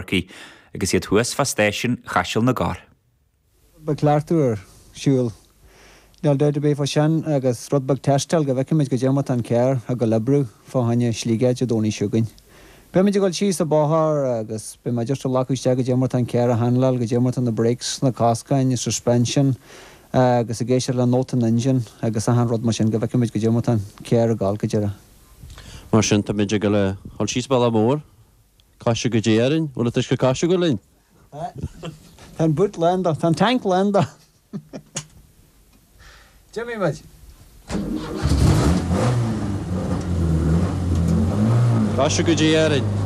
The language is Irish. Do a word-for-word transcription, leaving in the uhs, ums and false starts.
Chorcaí agus iad thuas fá stáisiún Chaiseal na gCorr. Beidh cleachtadh ar siúl. Níl dabht ar bith fá sin agus rud beag tástáil go bhfeicfimid goidé mar tá an carr ag dul oibriú fá choinne Sligeach Dé Domhnaigh seo chugainn. Beimid ag dul síos an bóthar agus beidh muid just ag glacadh isteach goidé mar tá an carr a handláil, goidé mar tá na brakes, na coscáin, suspension agus ag éisteacht le nóta an engine agus achan rud mar sin go bhfeicfimid goidé mar tá an carr ag dul go deireadh. Mar sin táimid ag dul a dhul síos bealach mór. Caise go Dé orainn, bhfuil an t-uisce coise agat linn? Tá an boot lán de, tá an tank lán de. D'imigh muid. Caise go Dé orainn.